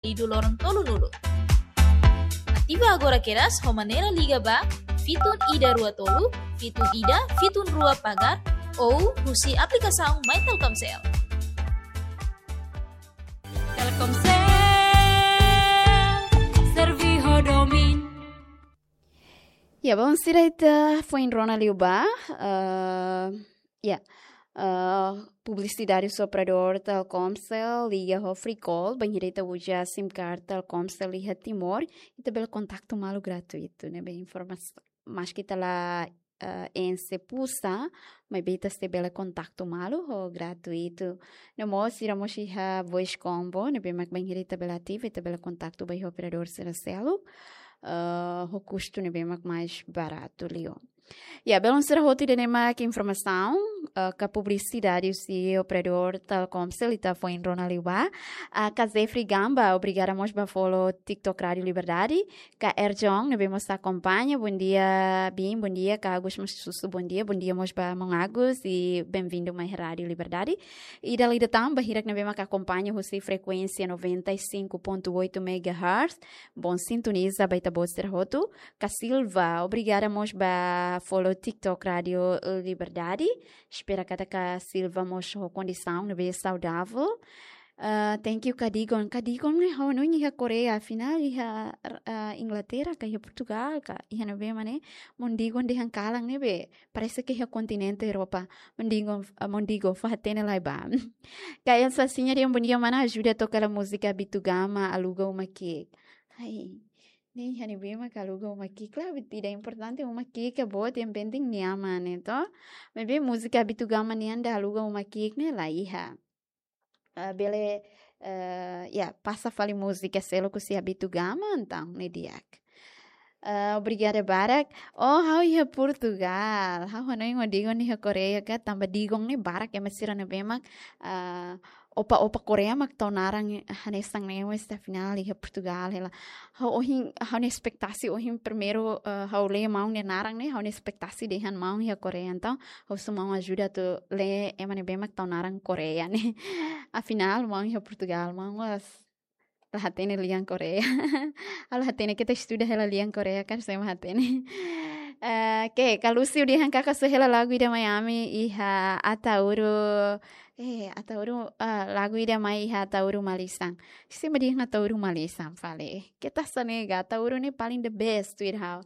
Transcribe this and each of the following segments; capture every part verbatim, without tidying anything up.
lidu loron tolunulu. Ativa agora kedas ho manera liga ba fitun ida rua tolu, fitun ida, fitun rua pagar, ou husi aplikasaun My Telkomcel. Telkomcel, servi ho domin. Ya, bom, sira ita foin rona liu ba, eh, ya, eh, publisidade operadór Telkomcel, liga ho free call, bainhira ita uza SIM card Telkomcel iha Timor, ita bele kontaktu malu gratuitu, ne'ebé informasaun. Maski ita la, eh, ense pulsa, maibé ita sei bele kontaktu malu ho gratuitu. No mós sira mós iha voice combo, ne'ebé mak bainhira ita bele ativa, ita bele kontaktu ba iha operadór sira seluk, eh, ho kustu ne'ebé mak mais baratu liu. Ya, belun sira hotu, ida-ne'e mak informasaun, eh, ka publisidade husi operadór Telkomcel ita foin rona liu ba. Ah, ka Jeffrey Gamba, obrigada mós ba follow TikTok Rádio Liberdade. Ka Erjon, ne'ebé mós akompaña, bom dia, Bin, bom dia, ka Agus mós sussu, bom dia, bom dia mós ba maun Agus, i bem-vindo mai Rádio Liberdade. I dala ida tan ba hirak ne'ebé mak akompaña husi frekuénsia noventa e cinco ponto oito megahertz, bom sintoniza ba ita-boot sira hotu. Ka Silva, obrigada mós ba follow TikTok Rádio Liberdade. Espera katak ka Silva mós ho kondisaun ne'ebé saudável. Ah, thank you, ka Digon. Ka Digon ne'e ha'u hanoin iha Koreia, afinál iha, ah, Inglaterra ka iha Portugal ka iha ne'ebé mak ne'e. Maun Digon dehan kalan ne'ebé, parese ke iha kontinente Europa. Maun Digon, ah, maun Digon, fó-hatene lai ba. Ka Elsa Sinha dehan bom dia mana, ajuda toka hela múzika Abitugama, Aluga Uma Ki'ik. Ai, ne'e iha ne'ebé mak aluga uma ki'ik la, ida importante uma ki'ik ka boot, yang penting nia aman, ne'e to. Maibé múzika Abitugama nian ida Aluga Uma Ki'ik ne'e la iha. Ah, bele, eh, ya, pasa fali múzika seluk husi Abitugama, entaun ne'e di'ak. Eh, obrigada barak. Oh, ha'u iha Portugal. Ha'u hanoin maun Digon iha Koreia ka, tanba Digon ne'e barak ema sira ne'ebé mak, ah, opa-opa Koreia mak tau naran hanesan ne'e, mas afinál iha Portugal hela. Ha'u ohin, ha'u-nia espetasi ohin primeiru, eh, ha'u lee maun nia naran ne'e, ha'u-nia espetasi dehan maun iha Koreia, entaun ha'u husu maun ajuda atu lee ema ne'ebé mak tau naran Koreia ne'e. Afinál, maun iha Portugal, maun mós la hatene lian Koreia. Ha'u la hatene, keta estuda hela lian Koreia, kan sei mak hatene. Eh, ke, ka Lucio dehan karik só hela lagu ida mai ami iha Ataúru, eh, Ataúru, ah, lagu ida mai iha Ataúru Malisan. Sei mak dehan Ataúru Malisan fali. Keta hanesan ne'e ka, Ataúru ne'e paling the best tuir ha'u.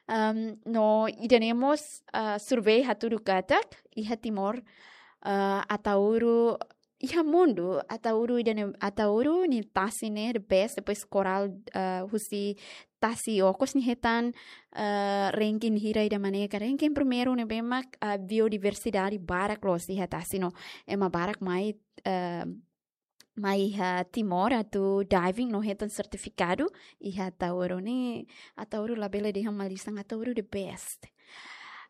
Em, no ida-ne'e mós, ah, survey hatudu katak iha Timor, ah, Ataúru iha mundu, Ataúru ida-ne'e, Ataúru nia tasi ne'e the best, depois Coral, ah, husi tasi okos nia hetan, ah, ranking hira ida mak ne'e ka, ranking primeiru ne'ebé mak, ah, biodiversidade barak loos iha tasi no ema barak mai, ah, mai iha Timor atu diving no hetan sertifikadu iha Ataúru ne'e. Ataúru labele dehan Malisan, Ataúru the best.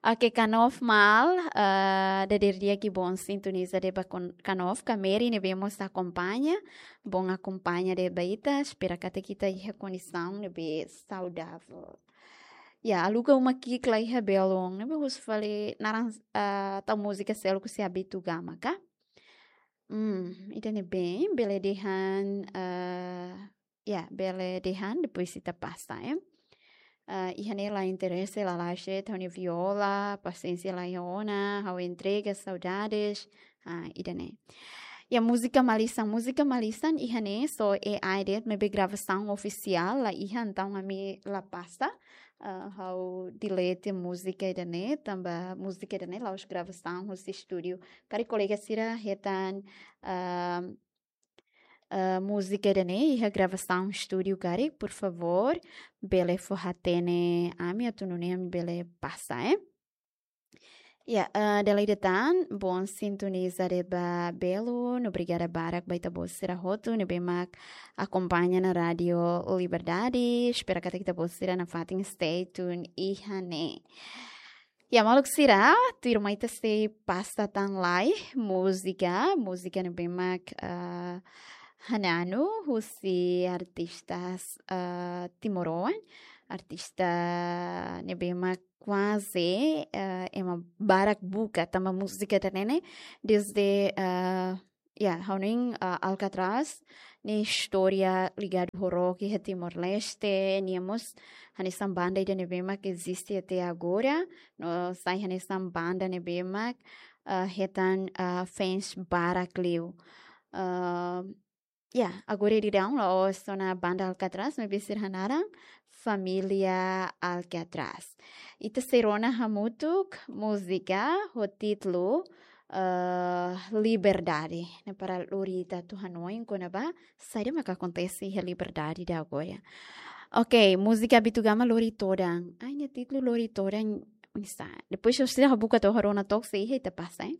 Oke, Kanov Mal, eh, dadeer di'ak, bom sintoniza de'it ba kon-, Kanov, ka Mary ne'ebé mós akompaña, bom akompaña de'it ba ita, espera katak ita iha kondisaun ne'ebé saudável. Ya, Aluga Uma Ki'ik la iha belun, ne'ebé husu fali naran, eh, tau múzika seluk husi Abitugama ka? Hmm, ida-ne'e bem, bele dehan, eh, ya, bele dehan, depois ita pasa, eh. Ah, iha ne'e la interese, la laxe, ha'u-nia viola, pasiénsia la iha ona, ha'u entrega, saudades. Ah, ida-ne'e. Ya, múzika Malisan, múzika Malisan iha ne'e só A I de'it, maibé gravasaun ofisiál la iha, entaun ami la pasa. Ah, ha'u delete múzika ida-ne'e, tanba múzika ida-ne'e la'ós gravasaun husi estúdiu. Karik kolega sira hetan, ah, ah, múzika ida-ne'e iha gravasaun estúdiu karik, por favór, bele fó-hatene ami atu nune'e ami bele pasa, eh. Ya, ah, dala ida tan, bom sintoniza de'it ba belun, obrigada barak ba ita-boot sira hotu ne'ebé mak akompaña ona Rádio Liberdade, espera katak ita-boot sira nafatin stay tune iha ne'e. Ya, maluk sira, tuirmai ita sei pasa tan lai múzika, múzika ne'ebé mak, ah, hananu husi artistas, ah, timoroan, artista ne'ebé mak kuaze, ah, ema barak buka, tanba múzika ida-ne'e ne'e, desde, ah, Ya, ha'u hanoin, ah, Alcatraz nia istória ligadu ho rock iha Timor-Leste, nia mós hanesan banda ida ne'ebé mak eziste até agora, no sai hanesan banda ne'ebé mak, ah, hetan, ah, fans barak liu. Ah, ya, agora daudaun la'ós ona banda Alcatraz, maibé sira hanaran Família Alcatraz. Ita sei rona hamutuk múzika ho títulu, eh, Liberdade. Ne'e para lori ita atu hanoin kona-ba saida maka akontese iha Liberdade ida agora. Ok, múzika Bituga mak Lori Todan. Ai, nia títulu Lori Todan, oinsá? Depois se ita buka to'o rona took sei iha ita pasa, eh?